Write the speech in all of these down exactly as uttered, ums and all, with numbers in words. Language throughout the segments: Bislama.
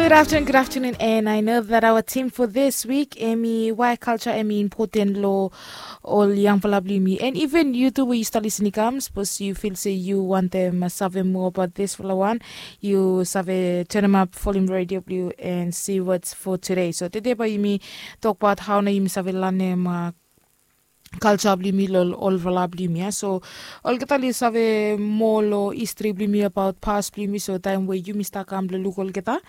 Good afternoon, good afternoon, and I know that our theme for this week, emi why culture emi important lo ol yangfala blong yumi, and even you too, we used to listen i kam, suppose you feel say you want them uh, save more about this fala one, you save turn them up volume radio blue and see what's for today. So today by yumi talk about how na yumi save learn them uh, culture blong yumi lo olfala blong yumi ya. So olgeta oli save moa lo history blong yumi about past blong yumi, so taim we yumi stap kam blong luk olgeta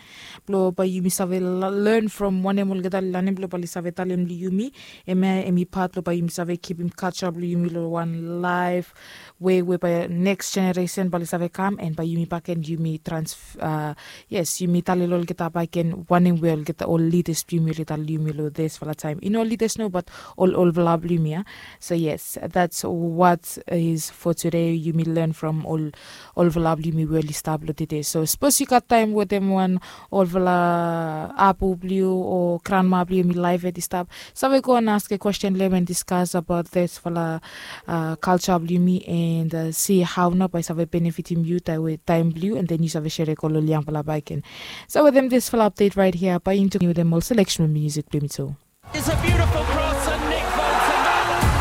blong bai yumi save learn from wanem olgeta oli lanem blong bai oli save talem long yumi. Em ya em i pat blong bai yumi save kipim culture blong yumi long wan laif we we bai next generation bai oli save kam and bai yumi baken yumi trans uh, yes, yumi tale long olgeta baken wanem we olgeta ol leaders blong yumi oli tale long yumi long disfala taim, i no leaders no, but ol olfala blong yumi ya. So yes, that's what is for today. Yumi learn from ol olfala blong yumi we oli stap long today. So suppose you got time wetem wan olfala apu blong yu o granma blong yumi live at i stap, save go and ask a question, learn and discuss about this fala uh, culture blong yumi and uh, see how na bai save benefitim yu taim blong yu, and then you save share go long yangfala baken. So wetem this fala update right here, bai into wetem ol selection music blong yumi too. It's a beautiful cross and Nick Bolton.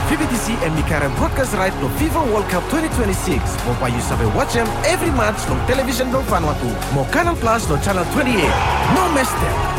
Fi bi disi em i karem broadcast right long fifa world cup twenty twenty-six mo bai yu save watch em evri match long television blong Vanuatu mo Canal Plus long channel twenty-eight. No miss them.